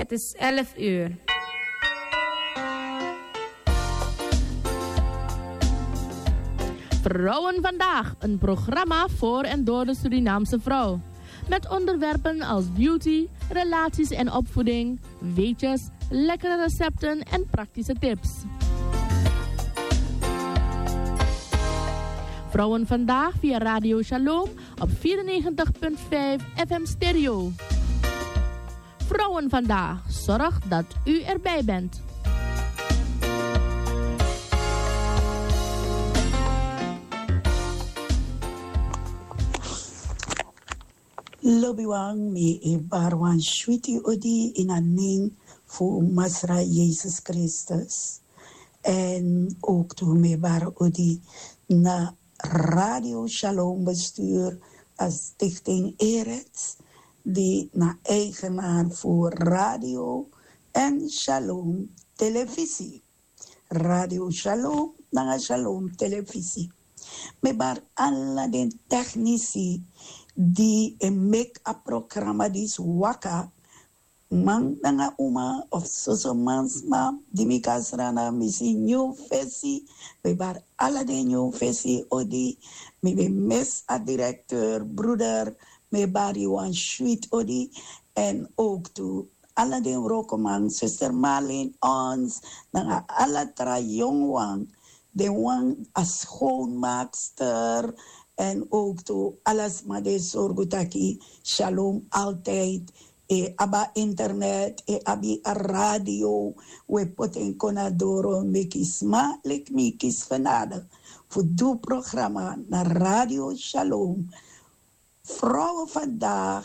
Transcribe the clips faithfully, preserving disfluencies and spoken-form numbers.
Het is elf uur. Vrouwen vandaag, een programma voor en door de Surinaamse vrouw. Met onderwerpen als beauty, relaties en opvoeding, weetjes, lekkere recepten en praktische tips. Vrouwen vandaag via Radio Shalom op vierennegentig punt vijf F M stereo. Vrouwen vandaag, zorg dat u erbij bent. Lobiwan, mi e bari wan switi odi in a nen fu Masra Yesus Kristus. En ook tu mi e bari odi na Radio Shalom bestuur, a Stichting Erets, di na eigenaar fu radio en Shalom Televisie. Radio Shalom nanga Shalom Televisie. Mi e bari ala den teknisi di e meki a programa disi waka, man nanga uma of soso mansma di mi kan srana, mi si nyun fesi. Mi e bari ala den nyun fesi odi. Mi ben misi a directeur, broeder, mi e bari wan switi odi. En ook tu ala den wrokoman, zuster Marlene Ons, nanga ala tra yongu wan, den wan a schoonmaakster, en ook tu ala sma di e sorgu taki Shalom altijd e abi a internet, e abi a radio, we poti en kon na doro meki sma leki mi kisi genade fu du programa na Radio Shalom. Vrouwen vandaag,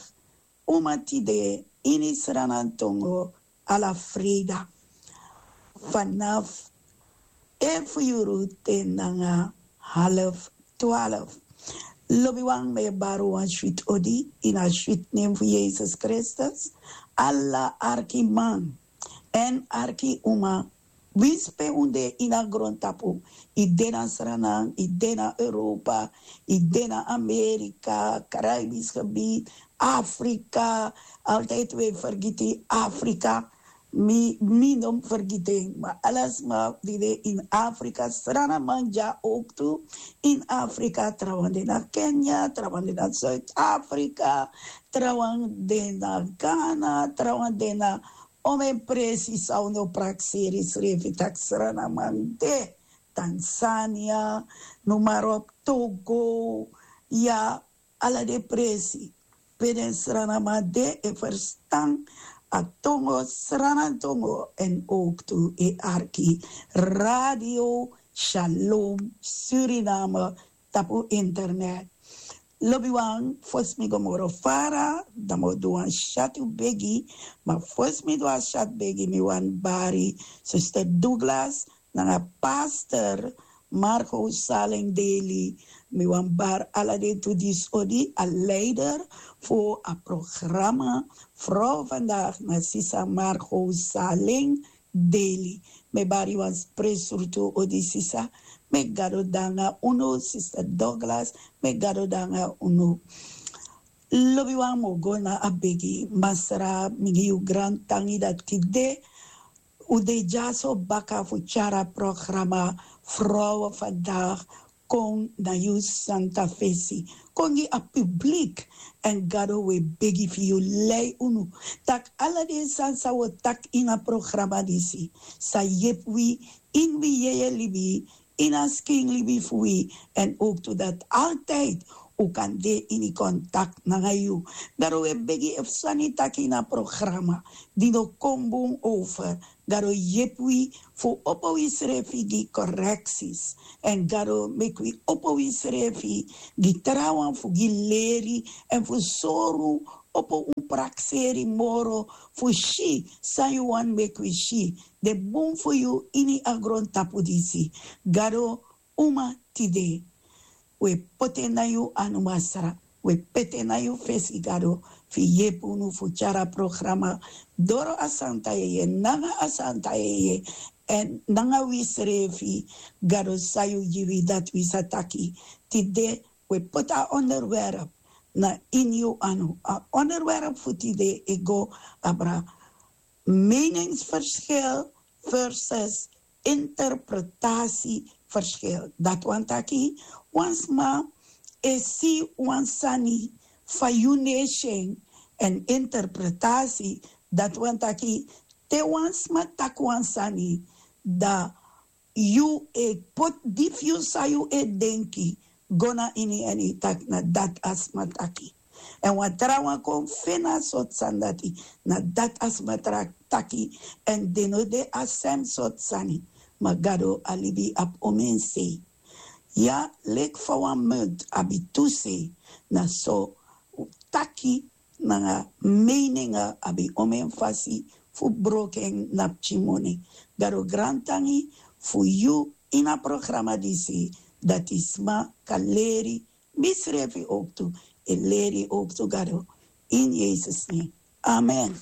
uma tide, ini Sranan tongo, ala freida. Vanaf elf uur te nanga half twaalf. Lobiwan, mi e bari wan switi odi in a switi nen fu Yesus Kristus. Ala arki man en arki uma, winsi pe un de ini a grontapu, i de na Sranan, i de na Europa, i de na Amerika, Caribisch gebied, Afrika, altijd we fergiti Afrika. Mi, mi no fergiti en, ma ala sma di de in Afrika, Sranaman dya ook tu in Afrika, trawan de na Kenia, trawan de na Zuid-Afrika, trawan de na Ghana, trawan de na omeni presi san un no prakseri srefi taki Sranaman de, Tanzania, noem maar op, Togo, ya, ala den presi pe den Sranaman de e ferstan a tongo, Sranan tongo, en ook tu e arki Radio Shalom Suriname tapu internet. Lobiwan, fosi mi go moro fara, dan mi o du wan syatu begi, ma fosi mi du a syatu begi, mi wani bari Zuster Douglas nanga Pastor Marco Saleng Daly. Mi wani bari ala den tu disi odi, a leider fu a programa Vrouw Vandaag na sisa Marco Saleng Daly. Mi e bari wan spre surtu odi sisa. Meki Gado de nanga unu, Sister Douglas, meki Gado de nanga unu. Lobiwan, mi o go na a begi. Masra, mi gi yu grantangi dati tide un de dyaso baka fu tyari a programa Vrouwen Vandaag kon na yu santa fesi, kon gi a publiek. En Gado, we begi fu yu lei unu, taki ala den sani san wi o taki ini a programa disi sa yepi wi ini wi yeye libi, ini a skin libi fu wi, en ook tu dati altijd un kan de ini contact nanga yu. Gado, we begi, efu sani taki ini a programa di no kon bun over, Gado, yepi wi fu opo wi srefi gi correcties. En Gado, meki wi opo wi srefi gi trawan fu gi leri en fu sori un, opo un prakseri moro fu si san yu wani meki wi si, den bun fu yu ini a grontapu disi. Gado, uma tide, we poti en na yu anu, Masra. We poti en na yu fesi, Gado, fu yepi unu fu tyari a programa doro a santa yeye nanga a santa yeye, en nanga wi srefi, Gado, san yu gi wi, dati wi sa taki. Tide we poti a onderwerp na ini yu anu. A onderwerp fu tide e go abra meningsverschil versus interpretasieverschil. Dat wan taki wan sma e si wan sani fa yu nation en interpretatie. Dat wan taki te wan sma taki wan sani, da yu e poti di fu yu san yu e denki go na ini en yu taki na dat a sma taki. En wan tra wan kon feni a sortu sani dati, na dat a sma tra taki. En den no de a sem sortu sani. Ma gado a libi abi omen sei. Ya, leki fa wan munt abi tu sei, na so taki nanga meininga abi omen fasi fu broko en na pikin moni. Gado grantangi fu yu ini a programa disi, dati sma kan leri, misrefi oktu e leri oktu gado. In Yesus nen, amen.